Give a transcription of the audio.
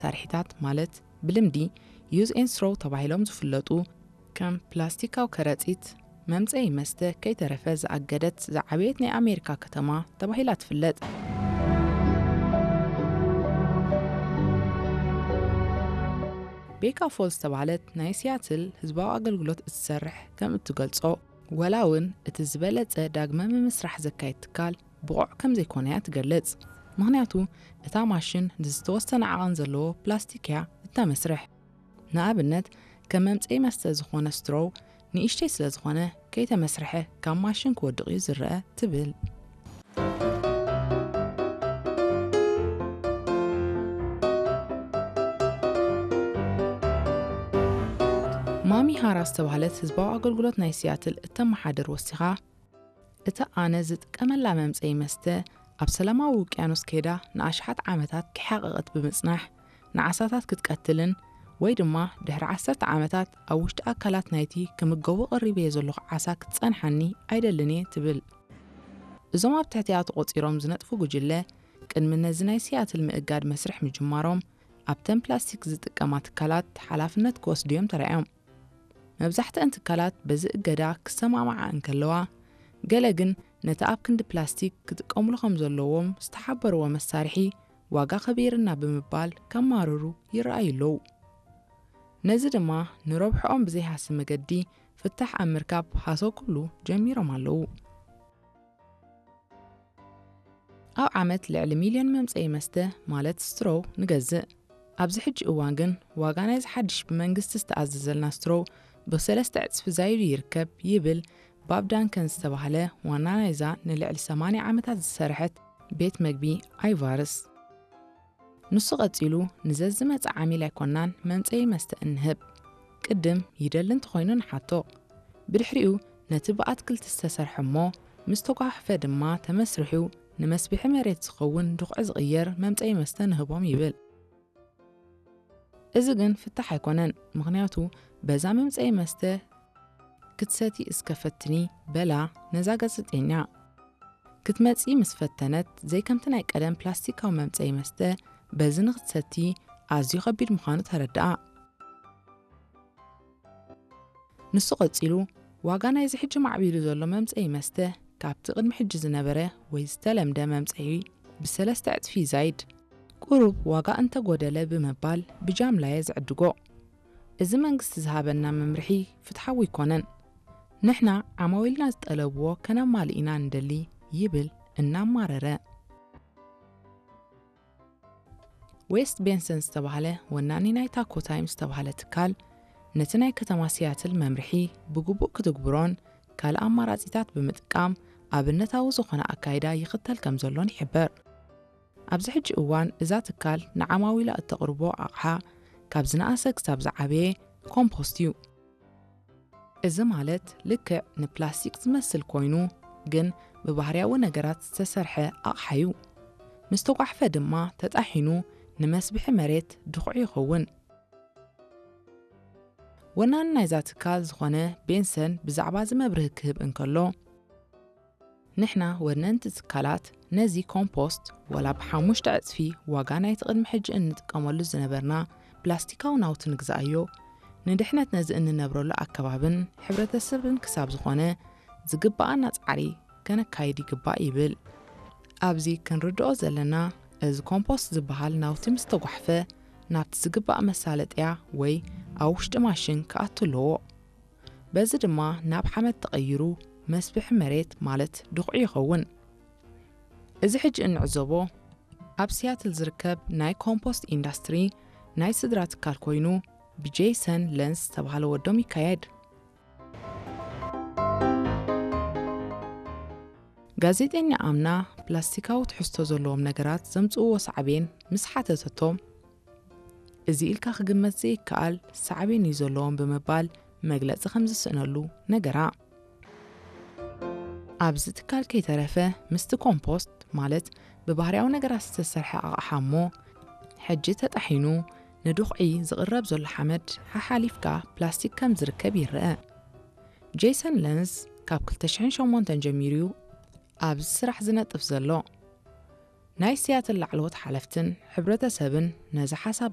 መሳርሒታት ማለት ብልምዲ use and throw ተባሂሎም ዝፍለጡ ከም ፕላስቲካዊ ከረጺት፣ መምጸኢ መስተ ከይተረፈ ዝኣገደት ዝዓበየት ናይ ኣሜሪካ ከተማ ተባሂላ ትፍለጥ። ቤካ ፎል ዝተባህለት ናይ ሲያትል ህዝባዊ ኣገልግሎት እትሰርሕ ከም እትገልጾ፣ ወላ እውን እቲ ዝበለጸ ዳግመ ምምስራሕ ዘካየድ ትካል ብቑዕ ከም ዘይኮነ እያ ትገልጽ። ምኽንያቱ እታ ማሽን ንዝተወሰነ ዓቐን ዘለዎ ፕላስቲክ እያ እተመስርሕ። ንኣብነት ከም መምጸኢ መስተ ዝኾነ ስትሮው ንእሽተይ ስለ ዝኾነ ከይተመስርሐ ካብ ማሽን ክወድቕ እዩ ዝረአ ትብል። ማሚ ሃራ ዝተባህለት ህዝባዊ ኣገልግሎት ናይ ሲያትል እተመሓድር ወሲኻ፣ እታ ኣነ ዝጥቀመላ መምጸኢ መስተ ኣብ ሰላማዊ ውቅያኖስ ከይዳ ንኣሽሓት ዓመታት ክሓቐቐት ብምጽናሕ፣ ንዓሳታት ክትቀትልን ወይ ድማ ድሕሪ ዓሰርተ ዓመታት ኣብ ውሽጢ ኣካላት ናይቲ ክምገቦ ቀሪበዮ ዘለኹ ዓሳ ክትጸንሓኒ ኣይደልን እየ ትብል። እዞም ኣብ ትሕቲኣ ተቖጺሮም ዝነጥፉ ጉጅለ ቅድሚ ነዚ ናይ ሲያትል ምእጋድ መስርሕ ምጅማሮም ኣብተን ፕላስቲክ ዝጥቀማ ትካላት ሓላፍነት ክወስዱ እዮም ተራእዮም። መብዛሕትአን ትካላት በዚ እገዳ ክሰማማዓ እንከለዋ፣ ገለ ግን ነቲ ኣብ ክንዲ ፕላስቲክ ክጥቀምሉ ከም ዘለዎም ዝተሓበርዎ መሳርሒ ዋጋ ከቢርና ብምባል ከማርሩ ይረኣዩ ኣለዉ። ነዚ ድማ ንረብሕኦም ብዘይሃሲ መገዲ ፍታሕ ኣብ ምርካብ ሃሰው ክብሉ ጀሚሮም ኣለዉ። ኣብ ዓመት ልዕሊ ሚልዮን መምጸኢ መስተ ማለት ስትሮው ንገዝእ። ኣብዚ ሕጂ እዋን ግን ዋጋ ናይዚ ሓድሽ ብመንግስቲ ዝተኣዘዘልና ስትሮው ብሰለስተ ዕጽፊ ዛይዱ ይርከብ ይብል ባብ ዳንከን ዝተባህለ ዋና ናይዛ ንልዕሊ ሰማንያ ዓመታት ዝሰርሐት ቤት መግቢ ኣይቫርስ። ንሱ ቀጺሉ ንዘዝመጽእ ዓሚል ኣይኮናን መምጸኢ መስተ እንህብ። ቅድም ይደሊ እንተኾይኑ ንሓቶ። ብድሕሪኡ ነቲ ብኣትክልቲ ዝተሰርሐ እሞ ምስ ተጓሕፈ ድማ ተመስሪሑ ንመስብሒ መሬት ዝኸውን ድኹዒ ዝቕየር መምጸኢ መስተ ንህቦም ይብል። እዚ ግን ፍታሕ ኣይኮነን፣ ምኽንያቱ በዛ መምጸኢ መስተ ክትሰቲ እስከ ፈትኒ በላ ነዛ ጋዜጠኛ። ክትመጺ ምስ ፈተነት ዘይከምቲ ናይ ቀደም ፕላስቲካዊ መምጸኢ መስተ በዚ ንክትሰቲ ኣዝዩ ከቢድ ምዃኑ ተረድኣ። ንሱ ቀጺሉ ዋጋ ናይዚ ሕጂ ማዕቢሉ ዘሎ መምጸኢ መስተ ካብቲ ቅድሚ ሕጂ ዝነበረ ወይ ዝተለምደ መምጸኢ ብሰለስተ ዕጽፊ ይዛይድ። ቁሩብ ዋጋ እንተጎደለ ብምባል ብጃምላየ ዝዕድጎ። እዚ መንግስቲ ዝሃበና መምርሒ ፍትሓዊ ኣይኮነን። ንሕና ዓማዊልና ዝጠለብዎ ከነማልእ ኢና ንደሊ ይብል እናማረረ። ዌስት ቤንሰን ዝተባህለ ወናኒ ናይ ታኮ ታይም ዝተባህለ ትካል ነቲ ናይ ከተማ ሲያትል መምርሒ ብግቡእ ክትግብሮን ካልእ ኣማራጺታት ብምጥቃም ኣብነታዊ ዝኾነ ኣካይዳ ይኽተል ከም ዘሎን ይሕበር። ኣብዚ ሕጂ እዋን እዛ ትካል ንዓማዊላ እተቕርቦ ኣቕሓ ካብ ዝነኣሰ ክሳብ ዝዓበየ ኮምፖስት እዩ። እዚ ማለት ልክዕ ንፕላስቲክ ዝመስል ኮይኑ ግን ብባህርያዊ ነገራት ዝተሰርሐ ኣቕሓ እዩ። ምስ ተጓሕፈ ድማ ተጣሒኑ ንመስብሒ መሬት ድኹዒ ይኸውን። ወናኒ ናይዛ ትካል ዝኾነ ቤንሰን ብዛዕባ እዚ መብርሂ ክህብ እንከሎ፣ ንሕና ወነንቲ ትካላት ነዚ ኮምፖስት ዋላ ብሓሙሽተ ዕጽፊ ዋጋ ናይቲ ቅድሚ ሕጂ እንጥቀመሉ ዝነበርና ፕላስቲካዊ ናውቲ ንግዛኣዮ፣ ንድሕነት ነዚ እንነብረሉ ኣከባብን ሕብረተሰብን ክሳብ ዝኾነ ዝግባኣና ጻዕሪ ከነካይድ ይግባእ ይብል። ኣብዚ ክንርድኦ ዘለና እዚ ኮምፖስት ዝበሃል ናውቲ ምስ ተጓሕፈ ናብቲ ዝግባእ መሳለጥያ ወይ ኣብ ውሽጢ ማሽን ክኣቱ ኣለዎ። በዚ ድማ ናብ ሓመድ ተቐይሩ መስብሒ መሬት ማለት ድኹዒ ይኸውን። እዚ ሕጂ እንዕዘቦ ኣብ ሲያትል ዝርከብ ናይ ኮምፖስት ኢንዳስትሪ ናይ ስድራ ትካል ኮይኑ ብጄይሰን ለንስ ዝተባህለ ወዶም ይካየድ። ጋዜጠኛ ኣምና ፕላስቲካዊ ትሕዝቶ ዘለዎም ነገራት ዘምጽእዎ ሳዕቤን ምስ ሓተተቶም፣ እዚ ኢልካ ክግመት ዘይከኣል ሳዕቤን እዩ ዘለዎም ብምባል መግለጺ ከም ዝስእነሉ ነገራ። ኣብዚ ትካል ከይተረፈ ምስቲ ኮምፖስት ማለት ብባህርያዊ ነገራት ዝተሰርሐ ኣቕሓ እሞ ሕጂ ተጣሒኑ ንድኹዒ ዝቕረብ ዘሎ ሓመድ ሓሓሊፍካ ፕላስቲክ ከም ዝርከብ ይረአ። ጄይሰን ለንስ ካብ ክልተ ሽሕን ሸሞንተን ጀሚሩ ኣብዚ ስራሕ ዝነጥፍ ዘሎ። ናይ ሲያትል ላዕለዎት ሓለፍትን ሕብረተሰብን ነዚ ሓሳብ